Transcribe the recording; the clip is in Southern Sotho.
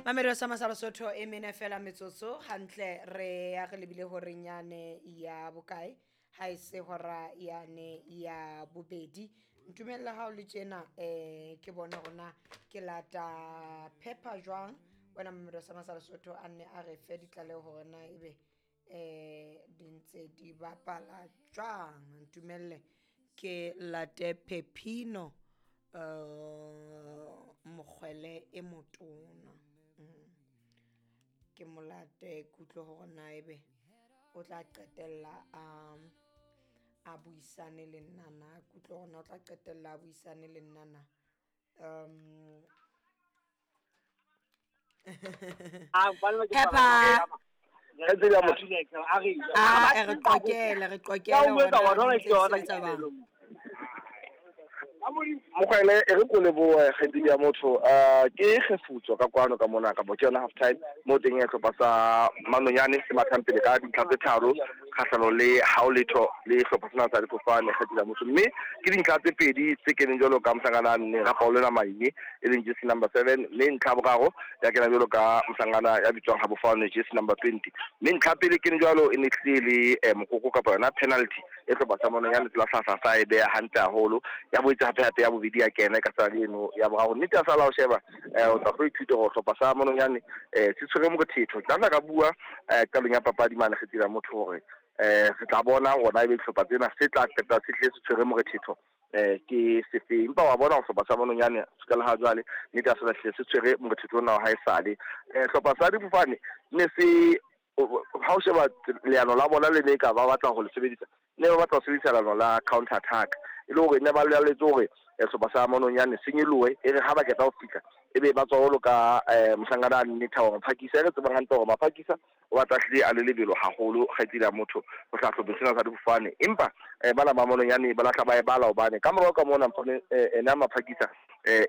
Mamelodi sa Masala Sotho e mene fela metsotso hantle re ya re lebile horeng yane ya bokae ha e se hora yane ya bobedi. Ntumella ha o le tjena ke bone hore na ke lata pepper jwang wena Mamelodi sa Masala Sotho a nne a re fe ditlaleho hore na ebe di ntse di bapala jwang. Ntumelle ke late Pepino mokgwele e motona. Ke molate kutlwe hore na ebe o tla qetella a buisane le nna na, kutlwe hore na o tla qetella a buisane le nna na. Pepper a re qoqele re qoqele hore na di ntse di sebetsa jwang. Mokgwele e re ko lebohe kgaitsedi ya motho. Ke kgefutso ka kwano ka mona kapa ke yona half time mo teng ya hlopha sa Manonyane se mathang pele ka dintlha tse tharo kgahlano le hao letho le hlopha sena sa difofane kgaitsedi ya motho. Mme ke dintlha tse pedi tse keneng jwalo ka mohlankana nne Rapaolena Maine e leng jersey number 7, mme ntlha boraro ya kena jwalo ka mohlankana ya bitswang Habofane jersey number 20. Mme ntlha pele kene jwalo e ne tlile le mokoko kapa yona penalty e hlopha sa Manonyane tsela hlahla sa e beha hantle haholo ya boetse hape hape ya bobedi ya kena ka tsela eno ya boraro. Nnete ya sala o sheba o tla tlo ithuta hore hlopha sa Manonyane se tshwere morethetho. Ke tla ka bua qalong ya papadi mane kgetsela motho hore re tla bona hore ebe dihlopha tsena se tla qeta se hle se tshwere morethetho ke sefeng. Empa wa bona hore hlopha sa Manonyane se ka le ha jwale nnete ya sala hle se tshwere morethetho ona wa haesale. Hlopha sa difofane ne se ha o sheba leano la bona le ne ka ba batla ho le sebedisa, ne ba batla ho sebedisa leano la counter attack e le hore ne ba laletse hore hlopha sa Manonyane se nyeloe e re ha ba qeta ho fihla ebe ba tswa jwalo ka mohlankana a nnete hore Maphakisa e re tsebang hantle hore Maphakisa o batla hlile a le lebelo haholo kgaitsedi ya motho ho hlahloba sena sa difofane. Empa bana ba Manonyane ba lahla ba e bala hobane ka morao ka mona ena Maphakisa